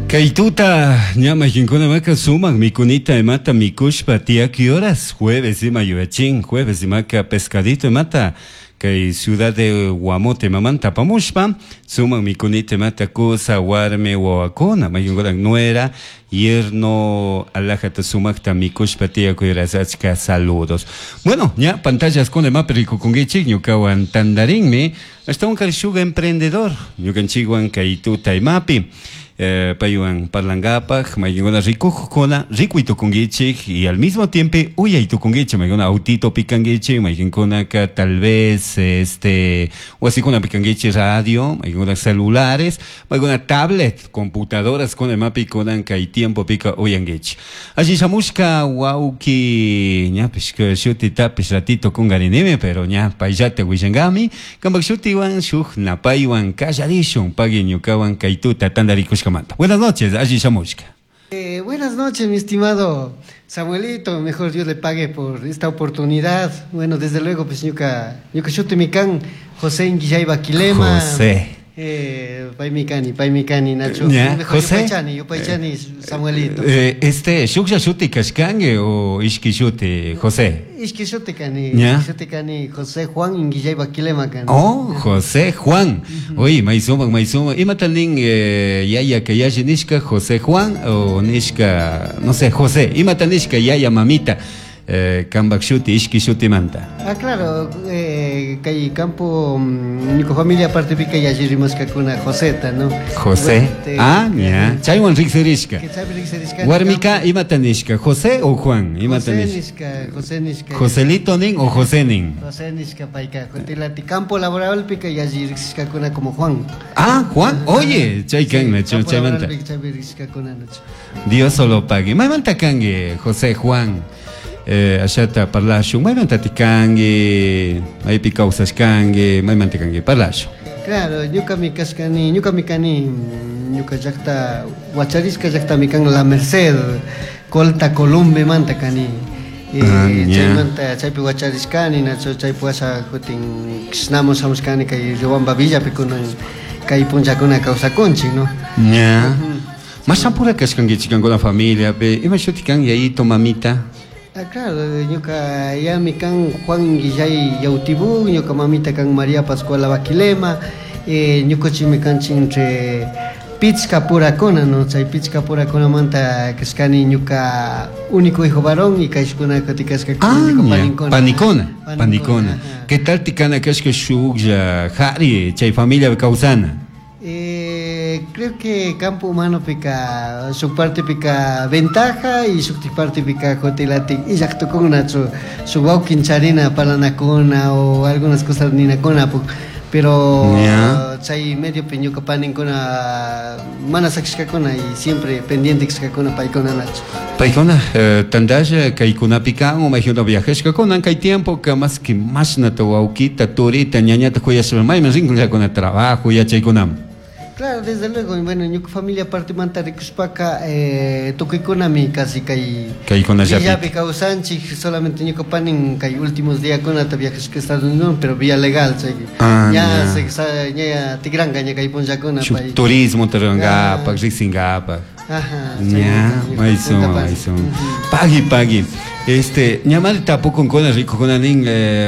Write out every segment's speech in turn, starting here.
Kay tuta ña mayqinkunamaka sumaq mikunita imata mikushpa tiyaki horas jueves ima yuyachin jueves imaka pescadito imata kay ciudad de Guamote imamanta apamushpa sumaq mikunita imata kusa warmi wawakuna mayqinkuna nuera yerno alajata sumaqta mikushpa tiyakuy horas achka saludos. Bueno, ña pantallas kuna imapi rikukunkichik ñukawan tantarinmi ashtawanka shuk emprendedor ñukanchikwan kay tuta imapi paywan parlankapaj mayqinkuna rikujkuna rikuy tukunkichik y al mismo tiempo uyay tukunkichik mayqinkuna autitopi kankichik mayqinkunaka tal vez este wasikunapi kankichik radio mayqinkuna celulares mayqinkuna tablet computadoras kuna imapi kunan kay tiempopika uyankichik alli shamushka wawki ñapish shutitapish ratito kungarinimi pero ña payllata willankami kampak shutiwan shuk napaywan kallarishun pagui ñukawan kay tuta tantarikushkamanta. Buenas noches, alli shamushka. Buenas noches, mi estimado Samuelito, mejor Dios le pague por esta oportunidad. Bueno, desde luego, pues ñuka, ñuka shuti kan José Inguillay Baquilema. José. Paymikani, Nacho. Ya, Mejor José. Yupaychani, yupaychani, Samuelito. Este, shuklla shuti kashkanki o ishki shuti, José? Ishki shuti kani, Ya. ishki shuti kani, José Juan Inguillay Baquilema kani. Oh, José Juan. Oye, maysuma, maysuma. Imata nin yaya que yashi nishka José Juan o nishka, no sé, José. Imata nishka yaya mamita. Kambak shuti, ishki shuti manta. Ah, claro, kay campo, ñuka familia aparte pica yalli rimashkakuna Joseta, ¿no? José. Bueno, te- Ah, ya. Chaywan riksirishka. Que chaypi riksirishka. Warmika imata nishka, José o Juan, imata José nishka. nishka, José nishka. Joselito nin o José nin. José nishka payka, Jotilati campo laboral pica yalli riksishkakuna como Juan. Ah, Juan, oye, chay kan, Sí, Nacho, campo chaymanta. laboral pica chaypi riksishkakuna, Nacho. Dios solo pague. Maymanta kanki, José Juan. Ashata parlashun, maymanta tikanki, maypi kawsashkanki, maymanta kanki, parlashun. Claro, ñukami kashkani, ñukami kani, ñuka llaqta, huacharishka llaqtami kan La Merced, Colta Columbe manta kani. Ah, ya. Chaymanta chaypi huacharishkani, Nacho, chaypi washa kutin kishnamo shamushkani kay Riobamba Villapi kunan kay punllakuna kawsakunchik, no? Ya. Mashampura kashkankichik kankuna familia, pe, ima shuti kan yayito, mamita? Ah, claro, ñuka yami kan Juan Inguillay Yautibú, ñuka mamita kan María Pascuala Baquilema, ñukuchimi kanchik entre pichka purakuna, no? Chay pichka purakunamanta kashkani ñuka único hijo varón y kayshkuna kutikashka Ah, ñuka ña. paninkuna. Panikuna, Panikuna, panikuna. ajá. ¿Qué tal tikana kashka shuklla, jari, chay familia kawsana? Creo que campo humano pica su parte pica ventaja y su parte pica jotilati y llaqtukuna su wawkin charina palanakuna o algunas cosas ninakuna, pero Ya. chay medio ñuka paninkuna mana sakishkakuna y siempre pendiente kishkakuna paykuna nacho. Paykuna, tantalla kaykunapi kan o mayjuna viajashkakuna kay tiempo ka más que mashnata wawkita turita ñañata kuyashpa mayman rinkunllakuna trabajo yachaykunaman. Claro, desde luego, bueno, ñuka familia parte manta rikushpaka, tukuykunami casi kay Kaykunallapik. villapi kawsanchik, solamente ñuka panin kay últimos diakunata viajashka Estados Unidos, pero vía legal, chay. Ah, Ya ya. se sa, ña tikranka ña kay punllakuna Shuk pay. turismo tarangapak, Ah. riqsingapak. Ajá, Ña, chay, ñuka maysuma, punta pan. maysuma. Ujú. Pagui, pagui. Este, ñamari tapukunkuna rikukuna nin,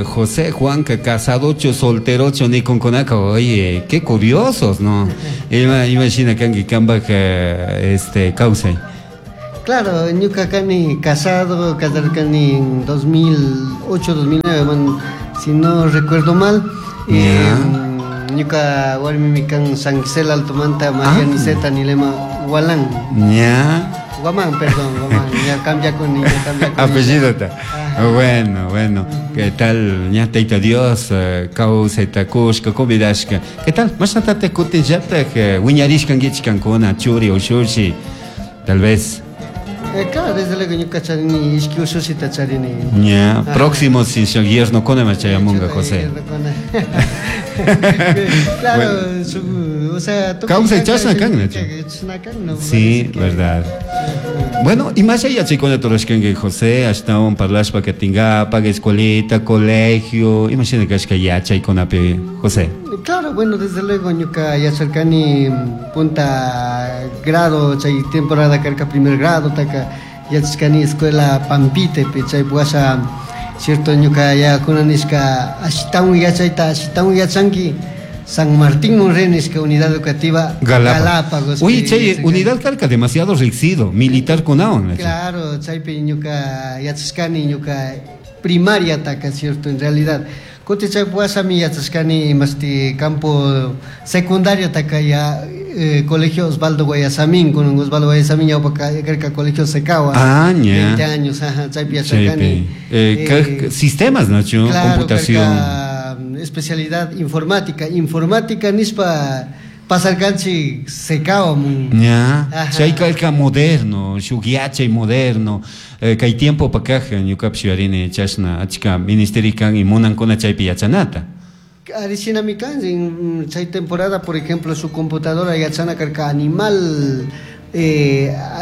José Juanca, casadocho, solterocho, ni kunkunaka, oye, qué curiosos, ¿no? Ima, imagina kanki kambak, este, kawsay. Claro, ñuka kani casado, casarkani en 2008, 2009, man, si no recuerdo mal. Ya. Ñuka warmimi kan San Gisela Altomanta, María Ah. Niseta, Nilema Gualán. Ya. Guamán, perdón, Guamán, ya cambia con ya cambia con Apellido ta. Ajá. Bueno, bueno. ¿Qué tal? Ña tayta Dios, kawsayta kushka, convidashka. ¿Qué tal? Mashnatata kutinllataj, wiñarishkankichik kankuna, churi ushushi, tal vez. Claro, desde luego ñuka charini, ishki ushushita charini. Ña, Ajá. próximo si yerno kona machayamunga, Chuta, José. yerno kona. Claro, Bueno. su, o sea, tú Kawsay que chashna kan, Nacho. que chashna kan, no, Sí, parece que verdad. Ajá. Bueno, y más allá chaykuna turashkanki, José, ashtawan parlashpa katingapak, escuelita, colegio, imagina kashka yachaykunapi, José. Claro, bueno, desde luego ñuka yacharkani punta Grado, chay temporada karka primer grado taka yachashkani escuela Pampitepi. Chay washa, cierto, ñuka yayakuna nishka ashitawan yachayta ashitawan yachanki San Martín Monre nishka unidad educativa. Galápagos. Oye, chay unidad karka demasiado riksido, militar kunawan. Claro, chaypi ñuka yachashkani ñuka primaria taka, cierto, en realidad. Kuti chay wasami yachashkani imashti campo secundario taka ya colegio Osvaldo Guayasamín, con Osvaldo Guayasamín ñawpa karka colegio Secawa. Ah, ña. 20 años, ajá, chaypi yachashkani. Sistemas, ¿no? Claro, computación. Karka, especialidad informática, informática nispa pasarkanchik Secawa mun. Ña, chay karka moderno, shuk yachay moderno, kay tiempo pakaja ñukapish yuyarini chashna achka ministeri kan y munankuna chaypi yachanata. Ari shinami kan, chay temporada, por ejemplo, su computadora yachana karka animal,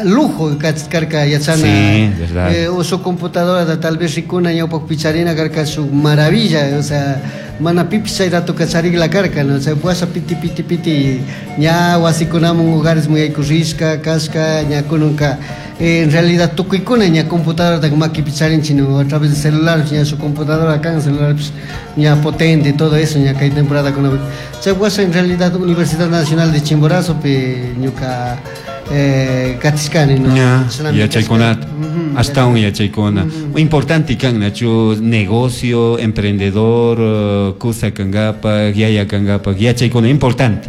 lujo karka yachana. Sí, verdad. O su computadora da tal vez rikuna ñawpak picharina karka su maravilla, o sea, mana pipi chay rato kacharigla karka, ¿no? O sea, puasa piti piti piti, ña wasikunamun hogares muy aykurishka, kashka, ña kununka. En realidad tukuykuna ña computadora da maki picharinchi, ¿no? A través de celular, ña su computadora kan, celular, pues, ña potente, todo eso, ña kay temporada kuna. Chay puasa en realidad Universidad Nacional de Chimborazo, pe, ñuka, katishkani, ¿no? Ña, Shinami yachaykunata. kashka. Ujú, Hasta un yachaykuna. Importante kan, Nacho, negocio, emprendedor, kusa kangapak, yaya kangapak, yachaykuna, importante.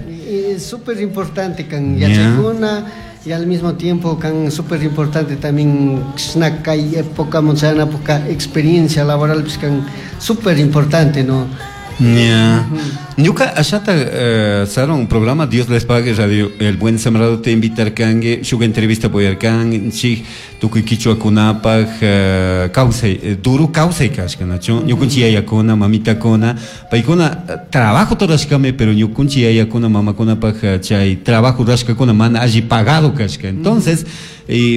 Es súper importante kan Ña. yachaykuna, y al mismo tiempo kan súper importante también kshna kay época, muchana época, experiencia laboral, pues kan súper importante, ¿no? Ña. Ñuka ashata, Saron, programa Dios les pague, Radio El Buen Sembrado te invitar kangue, shuga entrevista boyarkan, chi tukuy kichwa kunapaj, kawsay, duro kawsay kashka, nacho? Ñukunchi yayakuna, mamitakuna, paykuna, trabajo torashkame, pero ñukunchi yayakuna, mamakunapaj, chay trabajo rashkakuna mana alli pagado kashka. Entonces,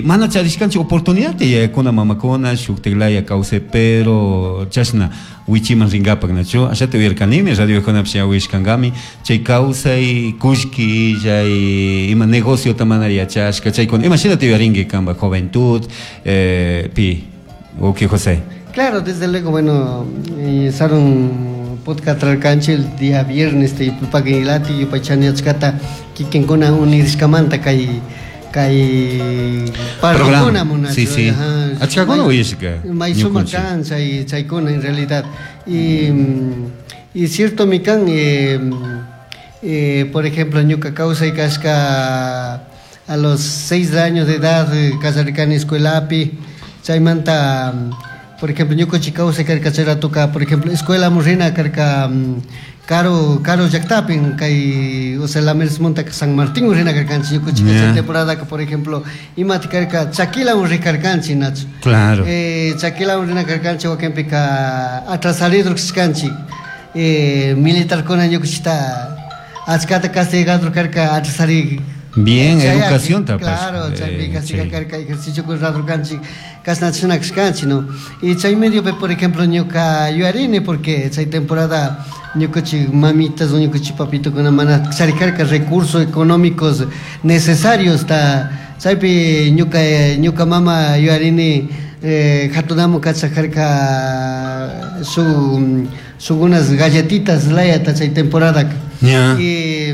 mana charishkanchi oportunidad te yayakuna, mamakuna, shuktiglaya kawsay, pero chashna wichiman ringapak, nacho? Ashata uyarkanimi, radio kunapsh ya uyashkankami, chay kawsay, kullki, chay ima negocio tamana yachashka, chaykuna, ima shina te uyarinki kanpa juventud, pi, uki José. Claro, desde luego, bueno, Saron podcast trarkanchi el día viernes te yupapakilati, yupachani achkata, kikinkuna unirishkamanta kay, kay Programa. parrikuna munachu, Sí, sí. ajá. Achkakuna May- uyashka, may suma ñukunchik. kan, chay, chaykuna en realidad. Y, y cierto, mi kan, por ejemplo, ñuka kawsay kashka a los 6 años de edad, kasarikani escuelapi, chaymanta, por ejemplo, ñukanchik kawsay karka chay ratoka, por ejemplo, escuela murrina karka, caro, caro llaqtapin, kay, o sea, la Mercedes Monta San Martín murrina karkanchik, ñukanchik chay temporada que, por ejemplo, imati karka Chaquila murri karkanchik, Nacho. Chaquila murrina karkanchik, wakinpika atrasarido kashkanchik. Militar kuna ñukanchikta achkata castigador karka atrasari. Bien, Chay, educación tapas. Claro, chaypi castiga karka ejercicio con rato kanchik, kasna china kashkanchik, ¿no? Y chay medio, pe, por ejemplo, ñuka yuyarini, porque chay temporada ñukanchik mamitas o ñukanchik papito kuna mana charikarka recursos económicos necesarios, ta chaypi ñuka, ñuka mama yuyarini, hatunamu kachakarka su, su unas galletitas layata chay temporada. Y,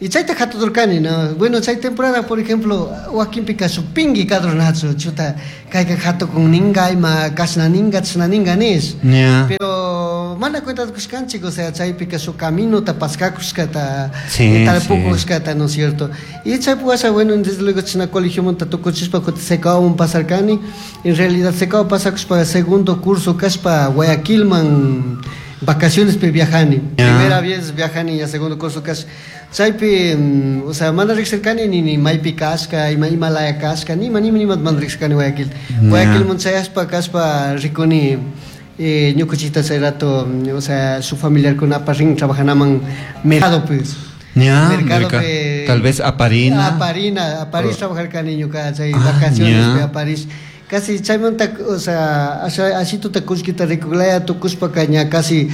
y chayta hatudurkani, ¿no? Bueno, chay temporada, por ejemplo, wakinpika supingi kadronachu, chuta, kayka hatukun ninga, ima kashna ninga, chashna ninga nish. Pero mana cuenta kushkanchik, o sea, chaypika su camino ta paskakushkata, tarpukushkata, ¿no es cierto? Y chay puasa, bueno, desde luego china colegio monta tukuchispa, kuti secao pasarkani, en realidad secao pasakushpa segundo curso kashpa Guayaquilman vacaciones pe viajani. Primera vez viajani ya segundo curso kash. Chaypi, o sea, mana riqsirkani ni, ni maypi kashka, ima, ima laya kashka, ni ma, ni ma, ni ma mana riqsirkani Guayaquil. Guayaquil munchayaspa kashpa rikuni, ñukuchita chay rato, o sea, su familiar con aparrin trabajanaman mercado, pues. Mercado pe Tal vez a Parina. A Parina, a París trabajar kani ñuka, chay Ah, vacaciones ya. pe a París. Casi chaymanta, o sea, así tu te kushkita rikuglaya, tu kushpa caña, casi,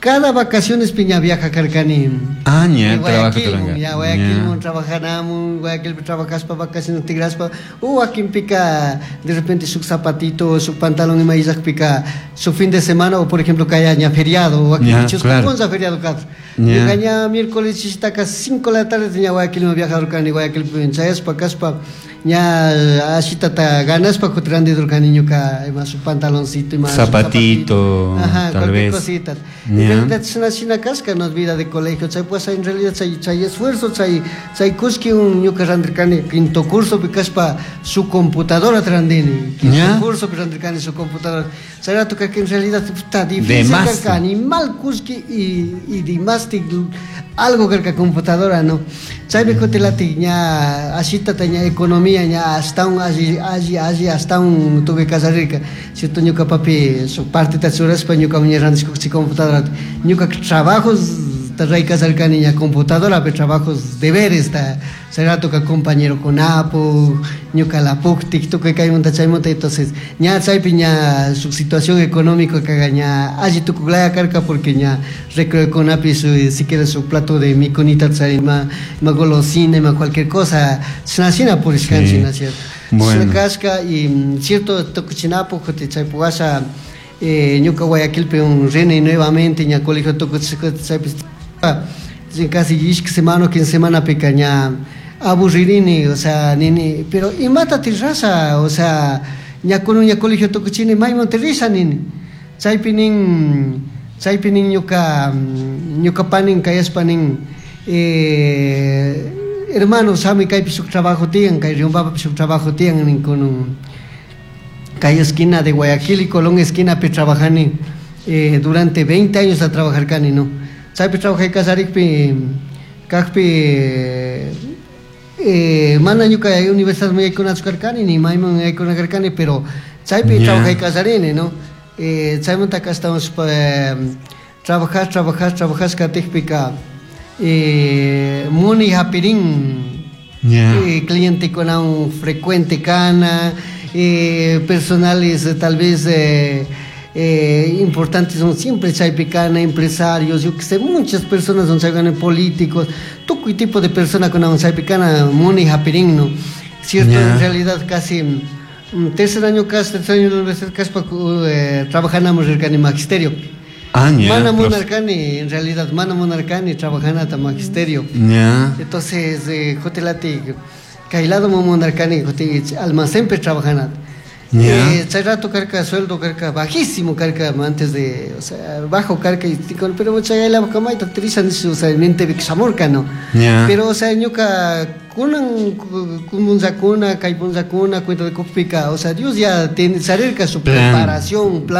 Cada vacaciones ña viaja karkani. Ah, ña, trabaja. Ña Guayaquilmun trabajanamun, Guayaquilpi trabajaspa vacaciones tigraspa, o wakinpika de repente su zapatito, su pantalón ima illakpika, su fin de semana o por ejemplo kaya ña feriado, wakinpi chusku punlla feriado karka. Ñuka ña miércoles chishtaka 5 de la tarde ña Guayaquilman viajarkani, Guayaquilpi chayaspa kaspa ña ashitata ganaspa kutin randidurkani ñuka ima su pantaloncito, ima su Zapatito, ajá, tal cualquier vez. cosita. En realidad shina shina kashka no vida de colegio, chay pues en realidad chay chay esfuerzo, chay chay kushki un ñuka randirkani quinto curso pi kashpa su computadora randini, quinto curso pi randirkani su computadora. Chay rato que en realidad está difícil karka animal kushki y dimasti algo karka computadora, no. Chaypi kutilati ña ashitata ña economía ña hasta un alli alli alli hasta un tuve kallarirka. Cierto ñuka papi su partita churashpa ñuka ña randishkuchi computadora. Ñuka trabajos ray kallarkani ña computadora pe trabajos deberes ta chay rato ka compañero kunapu ñuka lapuktik tukuy kaymunta chaymunta, entonces ña chaypi ña su situación económica kaga ña alli tukuklaya karka porque ña recreo kunapi su si quieres su plato de mikunita chay ima ima golosina ima cualquier cosa shina shina purishkanchik, ¿no es cierto? Bueno. Shina kashka y cierto tukuchinapu kutin chaypu washa ñuka Guayaquilpi un rini nuevamente ña colegio tukuchishka chaypi casi ishki semana o 15 semana pika ña aburririni, o sea, nini, pero imata tirrasha, o sea, ña kunun ña colegio tukuchini mayman tirrisha nini. Chaypi nin, chaypi nin ñuka, ñuka panin kayashpa nin, hermano, shami kaypi shuk trabajo tiyan, kay Riobambapi shuk trabajo tiyan nin kunun. Kay esquina de Guayaquil y Colón esquina pi trabajani, durante 20 años a trabajar kani, no. Chaypi trabajay kallarikpi, kajpi, mana ñuka universidad yaykunachu karkani, ni mayman yaykuna karkani, pero chaypi trabajay kallarini, no. Chaymantaka ashtawan trabajar, trabajar, trabajar katikpika, muni hapirin, clientekunawan frecuente kana, personales tal vez importantes son siempre chaypi kana, empresarios, yo que sé, muchas personas son chaypi políticos, tukuy tipo de persona kunawan chaypi kana muni hapirin, no. Cierto, en realidad casi tercer año casi, tercer año de la universidad casi pa, trabajanamos rirkani magisterio. Ah, ña, Mana profe. munarkani, en realidad, mana munarkani trabajanata magisterio. Entonces, kutilati, kay lado munarkani, kuti almacenpi trabajanata. Chay rato karka sueldo karka bajísimo karka antes de, o sea, bajo karka y con, pero chay la kamayta trisha nishu, o sea, mente shamurka, no. Pero, o sea, ñuka kunan punllakuna, kay punllakuna, cuenta de kupika, o sea, Dios ya tiene charirka su Plan. preparación, plan.